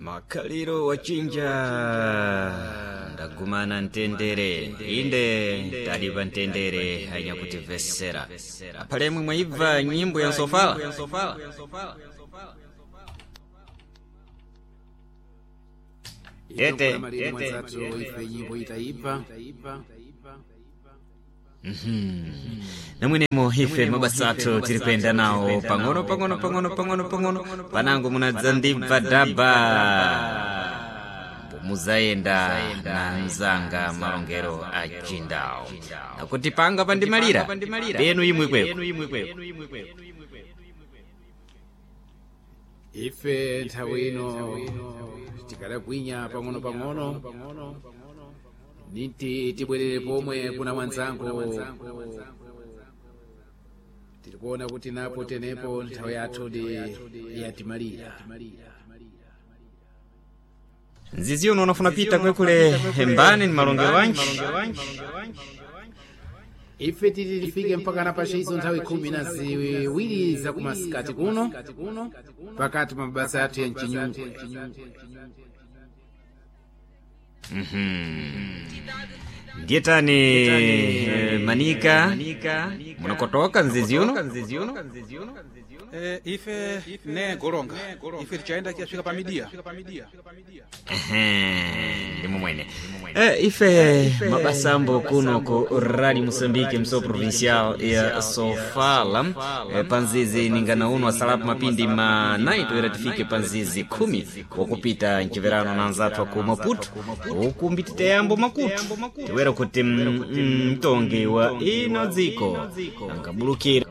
Makhaliro wachinja ndagumana mtendere inde tali pa mtendere anyakutimvesera aphalemwe mwayibva nyimbo ya nsofala. Tete, maliri mwanzathu ife nyimbo itayibva. Namwenemo ife mabasa athu tiri kuyenda nawo pang'ono pang'ono pang'ono pang'ono pang'ono panango munadzandibva dhaba muzayenda na mzanga malongero a chindawo nakuti panga pandimalira penu imwe kweko. Ife nthawi ino tikadagwinya pang'ono pang'ono niti tibwerere pomwe kuna mwanzangu tirikuona kuti napo tenepo nthawi yathu ndi yatimalira. Nzizi uno unafuna pita kwekule hembani ni malongero wanji. Ife titi tifike mpaka na pachizo nthawi 12 za kumasikati kuno pakati pa mabasa athu ya mchinyungwe. Ndiye tani manika munakotoka nzizi uno. Ife ne golonga ife tichayenda kiyafika pa midia. Ehe, ndimo mwene ife mabasambo kuno ku Radio Moçambique mso provincial ya Sofala panzizi ningana uno asalapo mapindi ma 9 toera tifike panzizi 10 wakupita mchiverano na anzathu aku Maputo ukumbi titeyambo makutu tiwera kuti mtongi wa ino dziko angabulukira.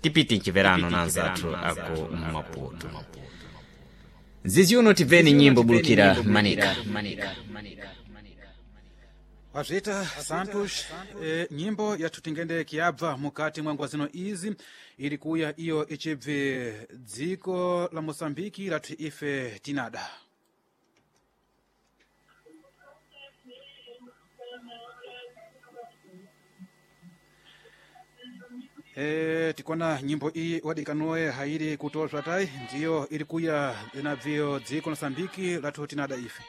Tipiti mchiverano na anzathu aku Maputo nzizi uno tibveni nyimbo bulukira manika. Wazvita Santos, nyimbo yathu tingende kiyabva mukati mwa nguwa zino izi iri kuya iyo ichibve dziko la Moçambike lathu ife tinada. Tikona nyimbo iyi wadikanoe hairi kutozva tai ndiyo iri kuya inabviyo dziko la Moçambike lathu tinada ife.